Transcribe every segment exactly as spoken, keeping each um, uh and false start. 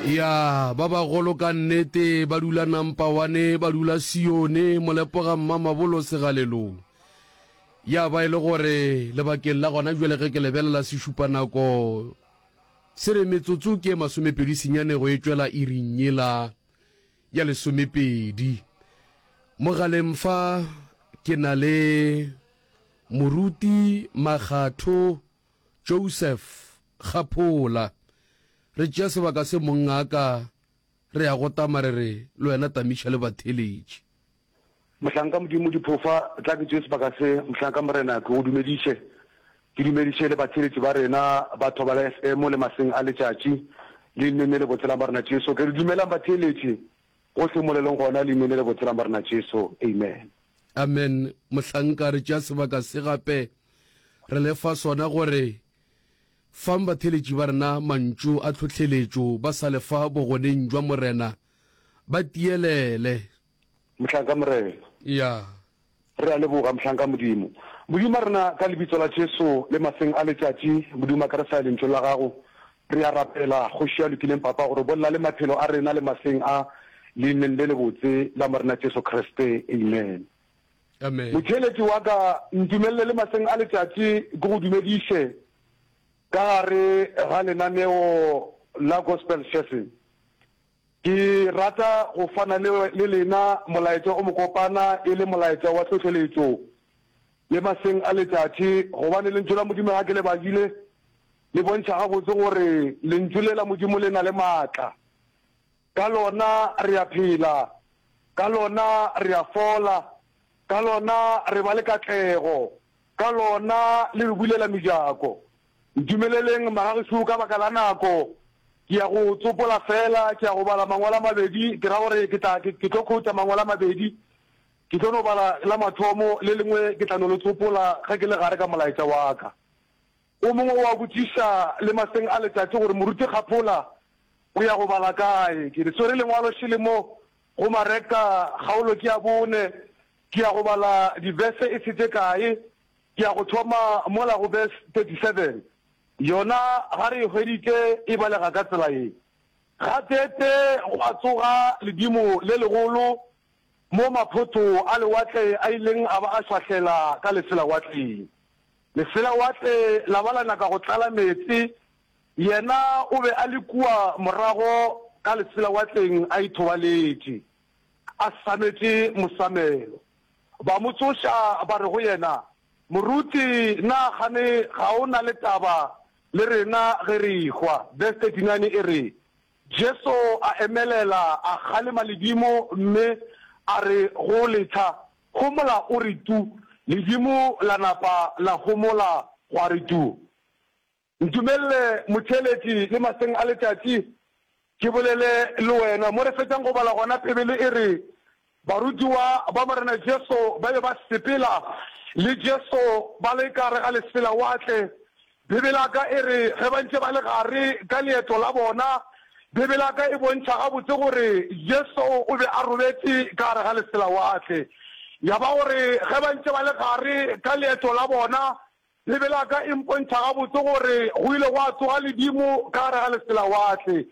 Ya, ba bagolo ka nnete ba dula Nampawane, ba dula Sione, Molepoga Mmamabolo Segalelong. Ya ba e le gore lebakeng la gona bjale ge ke lebelela sešupanako se re metsotso ke e masomepedi senyane go e tšwela iring yela ya lesomepedi. Mogaleng fa ke na le Moruti Makgatho Joseph Kgaphola. Re tšea sebaka se mongaka re ya go tama re re le wena tamiša le batheletši. Mohlanka Modimo Diphofa, tla ke tšee sebaka se, mohlanka Morena, ke go dumediše. Ke dumediše le batheeletši ba rena ba Thobela F M le maseng a letšatši, leineng le lebotse la Morena Jesu. Ke re dumelang batheeletši, gohle mo le leng gona, leineng le lebotse la Morena Jesu. Amen. Amen. Mohlanka, re tšea sebaka se gape re le fa sona gore fang batheeletši ba rena mantšu a tlhohleletšo ba sa le fa bogoneng jwa Morena, ba tielele. Mohlanka Morena. Ya. Re a leboga, mohlanka Modimo. Modimo wa rena, ka Lebitso la Jesu, le maseng a letšatši, Modimo wa ka, re sa ya Lentšung la Gago, re a rapela, Kgoši ya lokileng, Papa, gore bolela le maphelo a rena le maseng a, Leineng le lebotse la Morena Jesu Kriste. Amen. Amen. Motheeletši wa ka, ntumelele le maseng a letšatši ke go dumediše ka gare ga lenaneo la Gospel Session. Ke rata go fana le, le lena molaetša o mokopana e le molaetša wa tlhohleletšo le maseng a letšatši, gobane Lentšu la Modimo ga ke le badile le bontšha gabotse gore Lentšu le la Modimo le na le maatla. Ka lona re a phela, ka lona re a fola, ka lona re ba le katlego, ka lona le re bulela mejako. Ntumeleleng, magagešo, ka baka la nako, ke ya go tsopola feela, ke ya go bala mangwalo a mabedi, ke ra gore ke tla, ke, ke tlo khouta mangwalo a mabedi. Ke tlo no bala la mathomo, le lengwe ke tla no le tsopola ge ke le gare ka molaetša wa ka. O mongwe o a botšiša le maseng a letšatši gore Moruti Kgaphola o ya go bala kae. Ke le swere lengwalo šele mo go Mareka, kgaolo ke ya bone, ke ya go bala divese e se tše kae. Ke ya go thoma mola go verse thirty-seven. Yona ga re e hweditše e balega ka tsela ye. Gateetee gwa tsoga ledimo le legolo mo maphoto a lewatle a ileng a ba a šwahlela ka leselawatleng. Leselawatle la ba la nyaka go tlala meetse, yena o be a le kua morago ka leselawatleng a ithobaletše, a sametše mosamelo. Ba mo tsoša ba re go yena, Moruti, na kgane ga o na le taba le rena ge re ehwa? Verse thirty-nine e re, Jesu a emelela, a kgalema ledimo mme a re go letsha, Homola o re tu! Ledimo la napa la homola gwa re tu! Ntumelele, motheeletši, le maseng a letšatši, ke bolele le wena. Mo re fetšang go bala gona, Bibele e re, Barutiwa ba Morena Jesu ba be ba sepela le Jesu ba le ka gare ga leselawatle. Bibele ka e re ge ba ntše ba le gare ka leeto la bona, Bibele ka e bontšha gabotse gore Jesu o be a robetše ka gare ga leselawatle. Ya ba gore ge ba ntše ba le gare ka leeto la bona, Bibele ka e mpontšha gabotse gore go ile gwa tsoga ledimo ka gare ga leselawatle.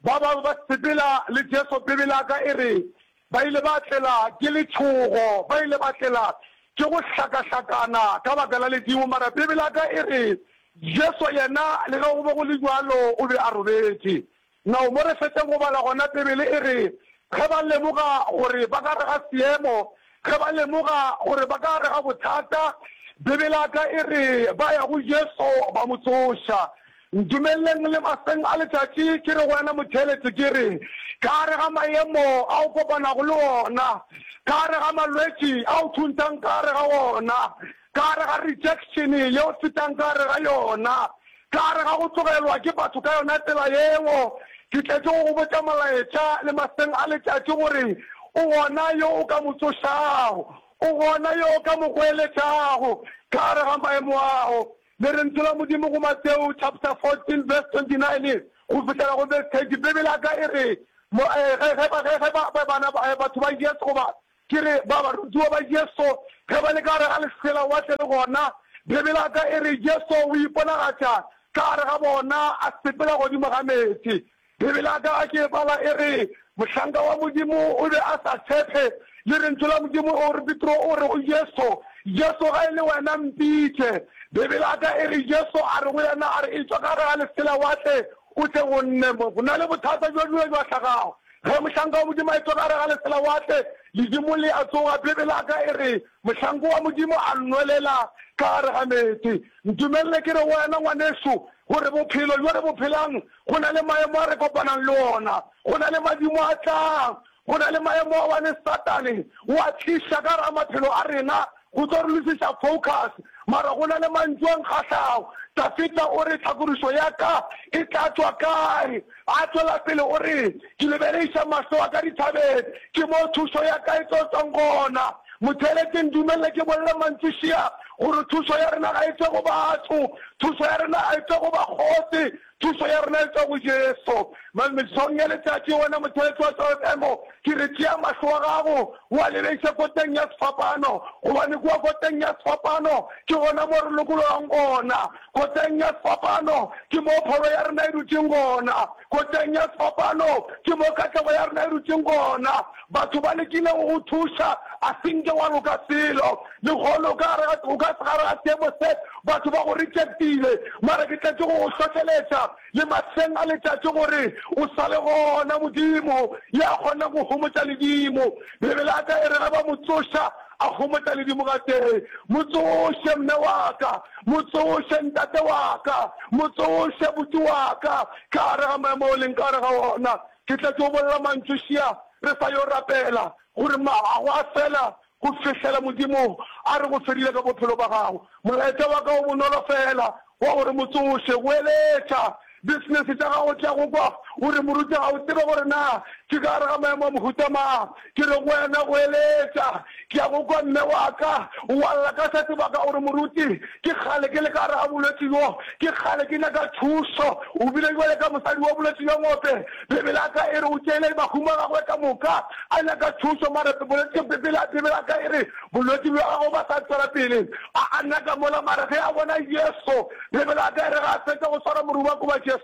Ba bangwe ba sepela le Jesu, Bibele ka e re ba ile ba tlela ke letšhogo, ba ile ba tlela ke go hlakahlakana ka baka la ledimo, mara Bibele ka e re Jesu yena le ge go be go le bjalo o be a robetše. Now mo re fetšang go bala gona, Bibele e re ge ba lemoga gore ba ka gare ga seemo, ge ba lemoga gore ba ka gare ga bothata, Bibele ka e re ba ya go Jesu ba mo tsoša. Ntumeleleng le maseng a letšatši ke re go wena motheeletši ke re ka gare ga maemo a o kopanago le ona, ka gare ga malwetši a o thuntšang ka gare ga ona, ka gare ga rejection ye o fetang ka gare ga yona, ka gare ga go tlogelwa ke batho ka yona tsela yeo, ke tletše go go botša molaetša le maseng a letšatši gore o gona yo o ka mo tsošago, o gona yo o ka mo goeletšago ka gare ga maemo ao. Le re Lentšu la Modimo go Mateo chapter fourteen verse twenty-nine go fihlela go verse thirty, Bibele ka e re mo ge ge ba ge ge ba bana batho ba Jesu goba ke re ba barutiwa ba Jesu ge ba le ka gare ga leselawatle le gona, Bibele ka e re Jesu o iponagatša ka gare ga bona a sepela godimo ga meetse. Bibele ya ka ke e bala e re, Mohlanka wa Modimo o be a sa tshepe le Lentšu la Modimo. O re, Petro o re go Jesu, Jesu, ga e le wena, mpitše. Bibele ya ka e re, Jesu a re go yena, a re, Etšwa ka gare ga leselawatle, o tle go nne. Mo go na le bothata bjo bjile bja hlagago. Ge mohlanka wa Modimo a etšwa ka gare ga leselawatle, ledimo le a tsoga. Bibele ya ka e re, Mohlanka wa Modimo a nwelela ka gare ga meetse. Ntumelele ke re go wena, ngwanešu, gore bophelo bjo re bo phelang, go na le maemo a re kopanang le ona. Go na le madimo a tlang. Go na le maemo a wane Satane o a tliša ka gare ga maphelo a rena go tlo re losiša focus. Mara go na le mantšu a nkgahlago. Dafida o re, Tlhakodišo ya ka e tla tšwa kae? A tšwela pele o re, Ke lebeleiša mahlo a ka dithabeng, ke moo thušo ya ka e tlo tšwang gona. Motheeletši, ntumelele ke bolele mantšu šia gore thušo ya rena ga e tšwe go batho, thušo ya rena ga e tšwe go bakgotsi, thušo ya rena e tšwa go Jesu. Mesong ya letšatši, wena motheeletši wa Tšwa F M, ke re tšea mahlo a gago o a lebeiše koteng ya sefapano, gobane kua koteng ya sefapano ke gona mo re lokologang gona. Koteng ya sefapano ke mo pholo ya rena e dutšeng gona. Koteng ya sefapano ke mo katlego ya rena e dutšeng gona. Batho ba lekile go go thuša, a se nke wa loka selo. Lehono o ka gare ga, o ka gare ga seemo se, batho ba go rejectile. Mara ke tletše go go hlohleletša le mahleng a letšatši gore o sa le gona Modimo ya kgonang go homotša ledimo. Bibele ya ka e re ge ba mo tsoša, a homotša ledimo gatee. Mo tsoše, mme wa ka. Mo tsoše, ntate wa ka. Mo tsoše, buti wa ka. Ka gare ga maemo o leng ka gare ga ona. Ke tletše go bolela mantšu šia re sa yo rapela, gore ma, go a fela go fihlela Modimo a re go fedile ka bophelo ba gago. Molaetša wa ka o bonolo fela, wa gore mo tsoše, goeletša business tša gago tša go kwa o re moruti ga o tsebe gore na ke ka gare ga maemo a mohuta mang. Ke re go wena goeletša, ke ya go kwa mme wa ka o a lla ka se sebaka o re moruti ke kgale ke le ka gare ga bolwetši bjo, ke kgale ke nyaka thušo. O bile bjale ka mosadi wa bolwetši bja ngope, Bibele ya ka e re o tšeile mahumo a gagwe ka moka a nyaka thušo, mara bolwetši Bibele Bibele ya ka e re bolwetši bja gagwe ba sa tšwela pele a a nyaka mola, mara ge a bona Jesu, Bibele ya ka e re ga a fetša go swara morubako wa Jesu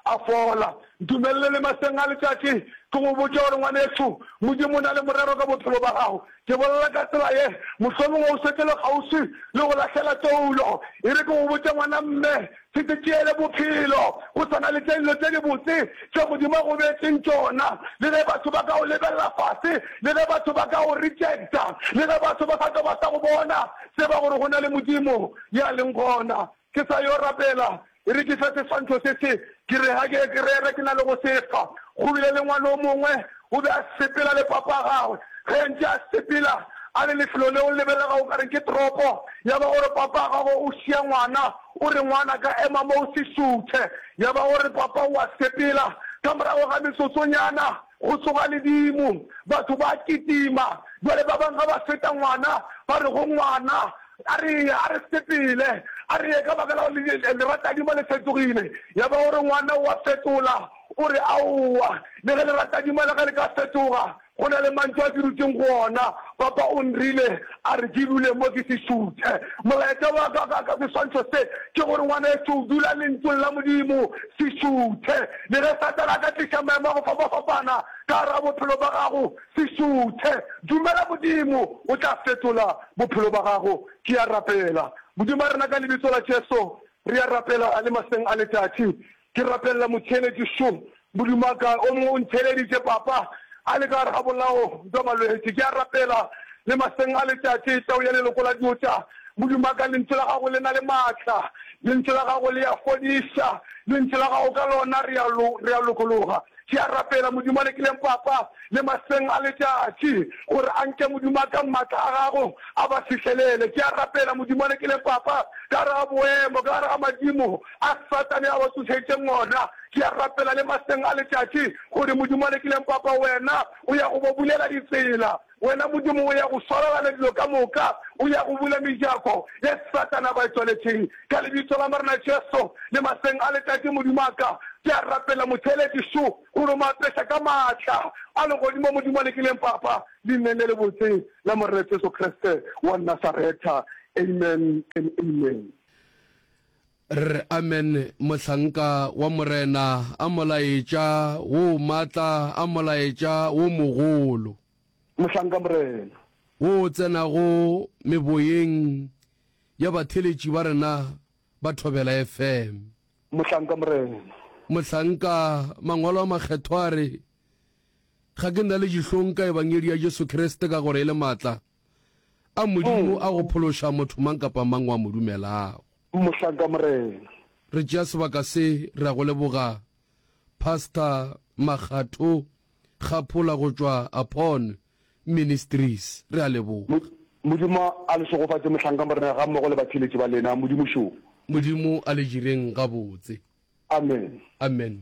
a fola. Ntumelele le maseng a letšatši ke go botše gore ngwanešu, Modimo o na le morero ka bophelo ba gago. Ke bolela ka tsela ye, mohlomongwe o šetše le kgauswi le go lahlela toulo. E re ke go botše ngwana mme, se se tšeele bophelo. Go sa na le tše dilo tše dibotse tše Modimo a go beetšeng tšona. Le ge batho ba ka go lebelela fase, le ge batho ba ka go rejecta, le ge batho ba sa tlo ba sa go bona, tseba gore go na le Modimo ya leng gona. Ke sa yo rapela, e re ke fe seswantšho se se, ke re ga ke ke rere ke na le go se fa. Go bile le ngwana o mongwe, o be a sepela le papa wa gagwe. Ge a ntše a sepela, a le lefelo leo le lebelega o ka re ke toropo, ya ba gore papa wa gagwe o šia ngwana, o re, Ngwana ka, ema mo o se šuthe. Ya ba gore papa o a sepela. Ka morago ga metsotsonyana, go tsoga ledimo, batho ba kitima. Bjale ba bangwe ga ba feta ngwana, ba re go ngwana, A re ye, a re sepele, a re ye, ka baka la gore leratadima le fetogile. Ya ba gore ngwana o a fetola, o re, Aowa, le ge leratadima la ka le ka fetoga, go na le mantšu a ke dutšeng go ona. Papa o nrile a re ke dule mo ke se šuthe. Molaetša wa ka ka, ka seswantšho se ke gore, ngwanešu, dula Lentšung la Modimo, se šuthe. Le ge Satane a ka tliša maemo a go fapafapana ka gare ga bophelo ba gago, Se šuthe. Dumela Modimo, o tla fetola bophelo ba gago. Ke a rapela. Modimo wa rena, ka Lebitso la Jesu, re a rapela le maseng a letšatši. Ke rapelela motheeletši šo, Modimo wa ka. O mongwe o ntheeleditše, Papa, a le ka gare ga bolao bja malwetši. Ke a rapela le maseng a letšatši, Tau ya leloko la Juda. Modimo wa ka, Lentšu la Gago le na le maatla. Lentšu la Gago le a fodiša. Lentšu la Gago, ka lona re a, re a lokologa. Ke a rapela, Modimo a lekileng papa le maseng a letšatši, gore a nke Modimo a ka maatla a Gago a ba fihlelele. Ke a rapela, Modimo a lekileng papa, ka gare ga boemo, ka gare ga madimo a Satane a ba tsošeditšeng ona. Ke a rapela le maseng a letšatši, gore Modimo a lekileng papa, Wena o ya go bo bulela ditsela. Wena Modimo o ya go swarelana dilo ka moka, o ya go bula mejako ye Satane a ba e tswaletšeng. Ka Lebitso la Morena Jesu, le maseng a letšatši, Modimo wa ka, ke a rapela motheeletši šo, gore o mo apeša ka maatla a Legodimo, Modimo a lekileng Papa, Leineng le lebotse la Morena Jesu Kriste wa Nasaretha. Amen and amen. Re re amen mohlanka wa Morena, a molaetša wo maatla, a molaetša wo mogolo. Mohlanka Morena. Wo o tsenago meboyeng ya batheeletši ba rena ba Thobela FM. Mohlanka Morena. Mohlanka, Mangwalo a Makgethwa a re, Ga ke na le dihlong ka Ebangedi ya Jesu Kriste ka gore e le maatla a Modimo a go phološa motho mang kapa mang wa mo dumelago. Mohlanka Morena. Re tšea sebaka se re a go leboga Pastor Makgatho Kgaphola go tšwa Upon Ministries. Re a leboga. Modimo a le šegofatše mohlanka Morena gammogo le batheeletši ba lena. Modimo šo. Modimo a le direng gabotse. Amen. Amen.